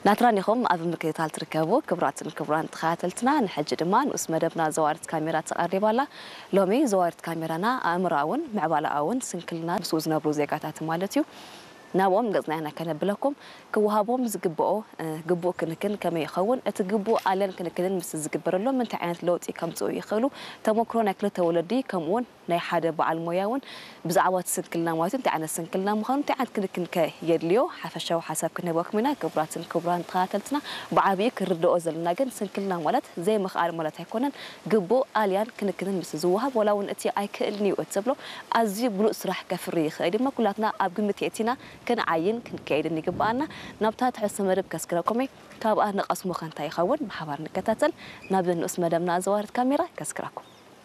ናትራን ኢኹም ኣብ ምክትታል ትርከቡ ክቡራትን ክቡራን ተኸታተልትና። ንሕጂ ድማ ንኡስ መደብና ዘዋሪት ካሜራ ተቐሪባ ኣላ። ሎሚ ዘዋሪት ካሜራና ኣእምሮኣውን ምዕባለኣውን ስንክልና ምስኡ ዝነብሩ ዜጋታት ማለት እዩ። ናብኦም ገጽና ኢና ከነብለኩም። ክወሃቦም ዝግብኦ ግቡእ ክንክን ከመይ ይኸውን፣ እቲ ግቡእ ኣልያን ክንክንን ምስ ዝግበረሎም እንታይ ዓይነት ለውጢ ከምጽኡ ይኽእሉ፣ ተመክሮ ናይ ክልተ ወለዲ ከምኡውን ናይ ሓደ በዓል ሞያ እውን ብዛዕባ እቲ ስንክልና ማለት እንታይ ዓይነት ስንክልና ምዃኑ እንታይ ዓይነት ክንክን ከ የድልዮ ሓፈሻዊ ሓሳብ ክንህበኩም ኢና። ክቡራትን ክቡራን ተኸታተልትና፣ ብዓብዩ ክንርድኦ ዘለና ግን ስንክልና ማለት ዘይምኽኣል ማለት ኣይኮነን። ግቡእ ኣልያን ክንክንን ምስ ዝወሃብ ዋላ እውን እቲ ኣይክእልን እዩ እትብሎ ኣዝዩ ብሉጽ ስራሕ ከፍሪ ይኽእል እዩ። ኩላትና ኣብ ግምት የእቲና ክንዓይን ክንከይድን ይግብኣና። ናብታ ትሕዝቶ መደብ ከስግረኩም እየ። ካብኣ ንቐስሞ ከ እንታይ ይኸውን ብሓባር ንከታተል። ናብ ንኡስ መደብና ዘዋርድ ካሜራ ከስግረኩም።